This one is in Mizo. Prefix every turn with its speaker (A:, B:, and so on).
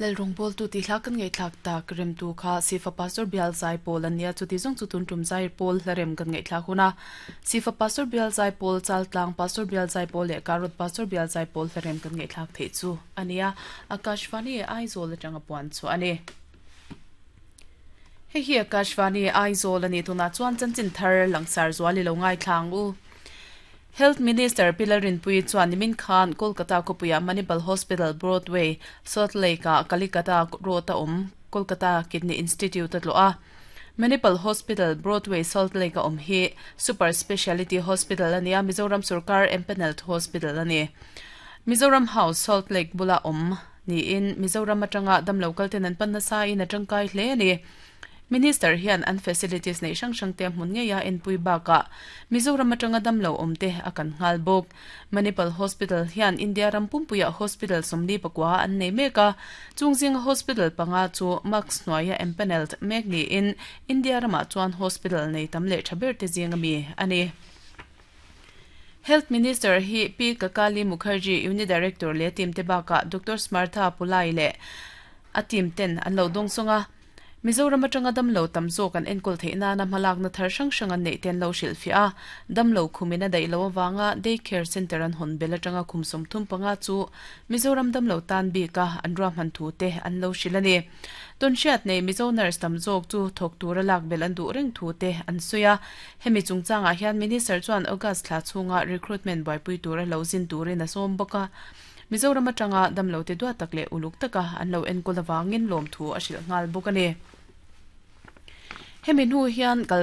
A: Lalrawngbawltu tih hla kan ngaihthlak tak remtu kha Sifa Pastor Bial Zaipawl an nia, chuti zawng chu tun tum Zaipawl hla rem kan ngaihthlak hun a, Sifa Pastor Bial Zaipawl, Chaltlang Pastor Bial Zaipawl leh Karot Pastor Bial Zaipawl hla rem kan ngaihthlak theih chu a nia, Akashvani Aizawl atanga puan chhuah a ni. Hei hi Akashvani Aizawl a ni, tunah chuan chanchin thar langsar zual i lo ngaithla ang u. Health Minister Pi Lalrinpuii chuan nimin khan Kolkata khawpuiah Manipal Hospital Broadway, Salt Lake-ah Kalikata Road-a awm Kolkata Kidney Institute a tlawh a. Manipal Hospital Broadway, Salt Lake-a awm hi Super Speciality Hospital a ni a, Mizoram sorkar empanelled hospital a ni. Mizoram House, Salt Lake bula awm niin Mizoram atanga damlo kalten an pan nasa in a tangkai hle a ni. Minister hian an facilities neih hrang hrang te hmun ngei a enpui bakah Mizoram atanga damlo awm te a kan nghal bawk. Manipal Hospital hian India ram pumpuiah hospital 44 an nei mek a, chung zinga hospital panga chu MACS hnuaia empanelled mek niin India ramah chuan hospital nei tam leh tha ber te zinga mi a ni. Health Minister hi Pi Kakali Mukherjee, Unit Director leh team te bakah Doctor Smartha Pulai leh a team ten an lo dawngsawng a. Mizoram atanga damlo tam zawk an enkawl theih nana hmalakna thar hrang hrang an neih te an lo hrilhfiah a, damlo khumin a daih loh avanga Day Care Centre an hawn bel atanga khum 35 chu Mizoram damlo tan bika an ruahman thu te an lo hrilh a ni. Tawnhriat nei Mizo nurse tam zawk chu thawk tura lak belh an duh reng thu te an sawi a, hemi chungchangah hian Minister chuan August thla chhunga recruitment buaipui tura lo zin turin a sawm bawk a. Mizoram atanga damlote duat tak leh uluk taka an lo enkawl avangin lawmthu a hrilh nghal bawk a ni. Hemi hnu hian kal.